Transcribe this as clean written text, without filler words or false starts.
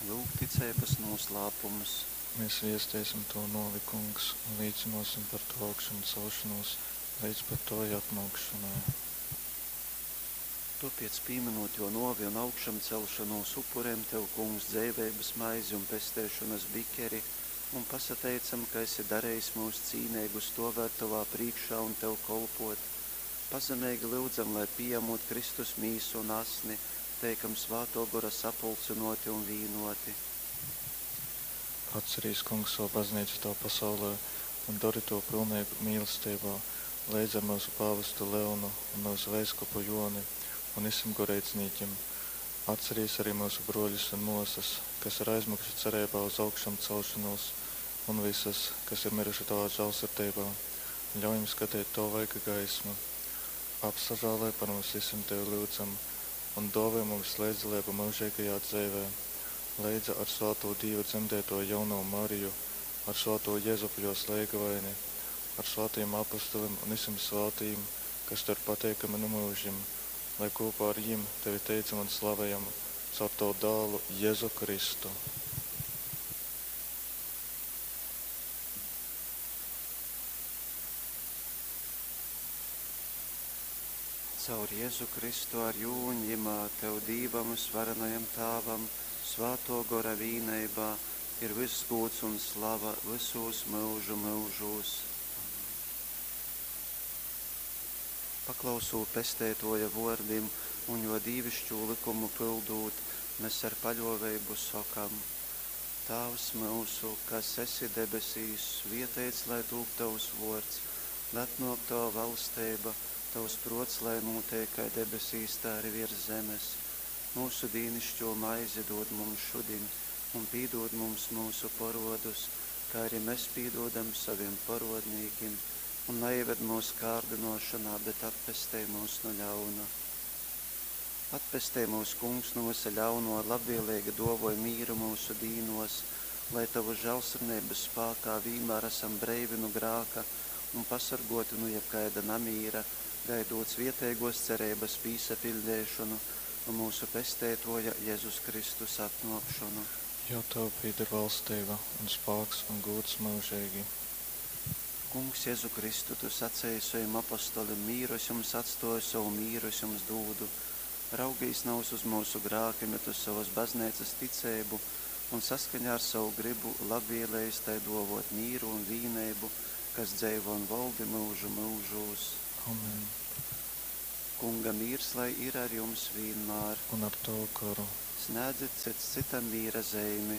Lūk, ticeibas nūslāpums. Mēs viesteisim Tavu nōvi, Kungs, un līcynōsim par Tavu augšamcelšonūs leidz pat Tovai atnōkšonai. Tōpēc, pīmynūt Jō nōvi un augšamcelšonūs, upurejam Tev, Kungs, dzeiveibas maizi un pesteišonas bikeri un pasateicam, ka esi darejis myus cīneigus stōvēt Tovā prīškā un Tev kolpōt. Pazemeigi lyudzam, lai, pījamūt Kristus mīsu un asni, teikam Svātō Gora sapulcynōti un vīnōti. Atcerīs, Kungs, savu baznīcu Tavā pasaulē un dori tū pilneigu mīlesteibā, leidz ar myusu pāvestu Leonu un myusu veiskupu Jōni un visim goreidznīkim. Atcerīs arī myusu brōļus un mōsas, kas ir aizmyguši cereibā uz augšamcelšonūs, un visus, kas ir myruši Tavā žālsirdeibā, un ļauj jim skateit Tavu vaiga gaismu. Apsažāloj par mums visim Tevi lyudzam, un dōvoj mums leidzdaleibu myužeigajā dzeivē, leidza ar svātū Dīva dzemdētoju jaunovu Mariju, ar svātū Jezupu jōs leigavaini, ar svātajim apostolim un visim svātajim, kas Tev ir pateikami nu mūžim, lai kopā ar jim Tevi teicam un slavējam caur Tavu dālu Jēzu Kristu. Caur Jēzu Kristu ar jū un jimā Tev, Dīvam vysvarenajam Tāvam, Svātō Gora vīneibā, ir vyss gūds un slava vysūs myužu myužūs. Amen. Paklausūt Pesteitōja vōrdim un jō dīviškū lykumu pyldūt, mes ar paļōveibu sokam: Tāvs myusu, kas esi debesīs, svieteits lai tūp Tovs vōrds, lai atnōk Tova valsteiba, Tovs prōts lai nūteik kai debesīs, tā arī viers zemes. Myusu dīnišķo maizi dūd mums šudiņ, un pīdūd mums myusu porodus, kā arī mēs pīdūdam saviem porodnīkim, un neieved mūsu kārdinošanā, bet atpestej mūs no ļauna. Atpestej mūs, Kungs, no visa ļauno, labvēlīgi dovoj mīru mūsu dīnos, lai Tavu žēlsirdības spākā vienmēr esam breivi no grāka un pasargoti no jebkaida namīra, gaidot svietēgos cerības pīsapildīšanu un mūsu pesteitoja Jēzus Kristus atnākšanu. Jo Tev pieder valstība un spāks un gods mūžīgi. Kungs, Jēzu Kristu, Tu sacēji saviem apostolim, mīru es jums atstoju, savu mīru es jums dūdu. Raugīs nav uz mūsu grākiem, bet uz savas baznīcas ticēbu un saskaņā ar savu gribu labvēlējis tai dovot mīru un vīneibu, kas dzeivo un valdi mūžu mūžūs. Amen. Kunga mīrs, lai ir ar jums vienmēr. Un ar tavu garu. Snēdzit cits citam mīra zeimi.